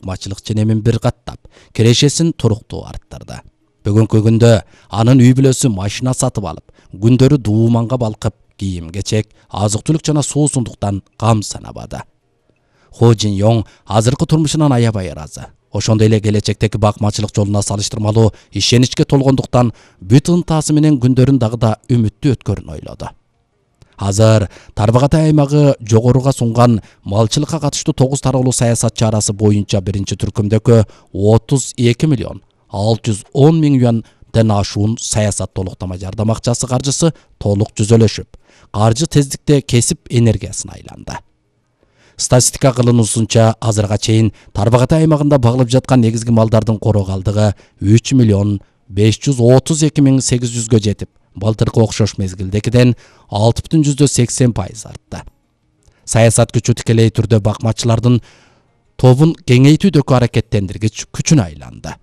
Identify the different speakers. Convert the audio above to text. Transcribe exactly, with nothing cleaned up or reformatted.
Speaker 1: бакмачылык ченемин бир каттап, кирешесин туруктуу арттырды. Бүгүнкү күндө анын үй бүлөсү машина сатып алып, күндөрү дууманга балкып, кийим-кечек, азык-түлүк жана суусундуктан кам санабады. Хо Жин Йонг азыркы турмушунан аябай ыраазы. Ошондой эле келечектеги бакмачылык жолуна салыштырмалуу ишеничке толгондуктан бүт ынтасы менен күндөрүн дагы да үмүттүү өткөрүн ойлоду. Азыр Тарбағатай аймагы жогоруга сунган малчылыкка катыштуу тогуз тараалуу саясат чарасы боюнча биринчи түркүмдөгү отуз эки миллион алты жүз он миң юанден ашуун саясат толуктама жардам акчасы каржысы толук жүзөлөшүп, каржы тездикте кесип энергиясына айланды. Статистика кылынуусунча азырга чейин Тарбағатай аймагында багылып жаткан негизги малдардын короо калдыгы үч миллион беш жүз отуз эки миң сегиз жүзгө жетип, былтыркы окшош мезгилдегиден алты бүтүн жүздөн сексен пайыз артты. Саясат күчү тикелей түрдө бакмачылардын тобун кеңейтүүдөгү аракеттендиргич күчүнө айланды.